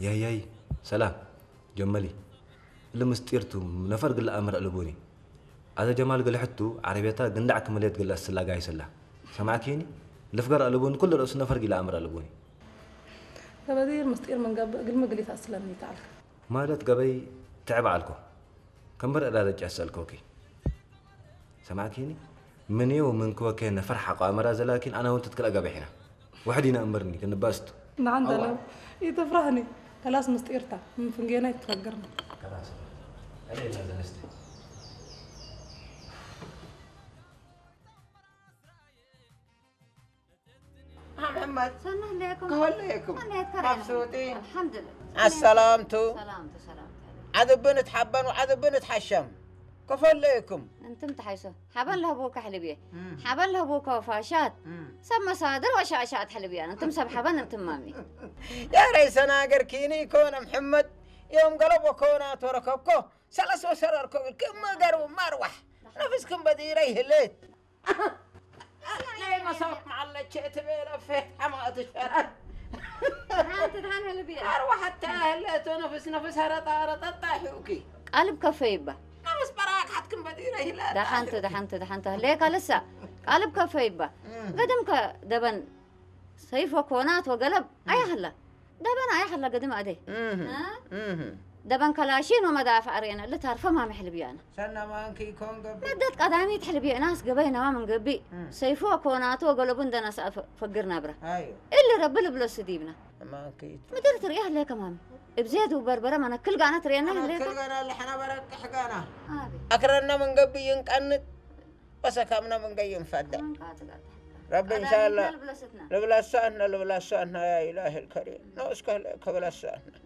ያያይ ሰላም ጀመሊ እሊ ምስጢርቱ ነፈር ግላ ኣምር ኣለቦኒ። ኣተ ጀማል ግልሕቱ ዓረቤታ ግንዳዕ ክመልየት ግላ ስላጋ ይሰላ ሰማዕኪኒ። ልፍገር ኣለቦኒ ኩሉ ርእሱ ነፈር ግላ ኣምር ኣለቦኒ። ተበዲር ምስጢር መንገብእ ግልሚ ግሊት ኣስለኒ ተዓልካ። ማለት ገበይ ትዕብ ዓልኮ ከምበር እዳረጭ ያሰልኮኪ ሰማዕኪኒ። ምንየው ምንክወከ ነፈር ሓቋ ኣመራ ዘላኪን ኣና እውን ትትክላ ገበሒና። ውሕድ ኢና እምበርኒ ክንባስቱ ንዓንተ ለው ይትፍራህኒ። ከላስ ምስጢርታ ምፍንጌና ይትፈግርኒ። መሐመድ ሰናህ ለኩም ከወለየኩም ሰናህ ከረና መብሱጢ አልሐምዱሊላህ ኣሰላምቱ ሰላምቱ ሰላምቱ ዓድብን እትሓበን ዓድብን እትሓሸም ከፈለየኩም እንቱም ተሓይሶ ሓበን ለህቡካ ሕልብየ ሓበን ለህቡካ ወፋሻት ሰብ መሳድር ወሻሻት ሕልብያን እንቱም ሰብ ሓበን እንቱም ማሚ ያረይ ሰናገር ኪኒ ኮነ ምሕመድ ዮም ገለቦ ኮና ተረከብኮ ሰለስ ወሰረርኮ ክመገሩ ማርዋሕ ነፍስክም በዲረ ይህልት ለይ መሳብ መዓለቸ እትቤለ ፌት ሓማእት ሸራት ሓንቲ ድሓን ሕልብየ ኣርዋሓታ ህለቶ ነፍስ ነፍስ ሀረጣ ረጠጣ ሒውኪ ቃልብ ከፈ ይባ ነፍስ በራክ ሓትክም በዲረ ይህለት ደሓንተ ደሓንተ ደሓንተ ህለየ ካልሳ ቃልብ ከፈ ይባ ገድምከ ደበን ሰይፎ ኮናት ወገለብ ኣያህላ ደበን ኣያህላ ገድም ኣደ ደበን ከላሺን ወመዳፍዕ ርኤና ልታርፈ ማሚ ሕልብያና ሰናማንኪ ኮን ገብ መደት ቀዳሚት ሕልብየናስ ገበይ ነዋ መንገቢ ሰይፎ ኮናቶ ወገለቡ እንደናስ ፈግር ናብራ ኣዩ እሊ ረቢ ልብሎ ስዲብና ማንኪ ምድር ትርእያ ህለከ ማሚ እብዜት ውበርበረ መነክል ጋና ትርእየና ህለከ ክልገና ለሐና በረቅሕ ጋና ኣቤት ኣክረና መንገቢ ይንቀንጥ ወሰካምና መንገይ ይንፈደ ረቢ እንሻላ ልብለሳህና ልብለሳህና ያ ኢላህ ልከሪም ነው እስከ ከብለሳህና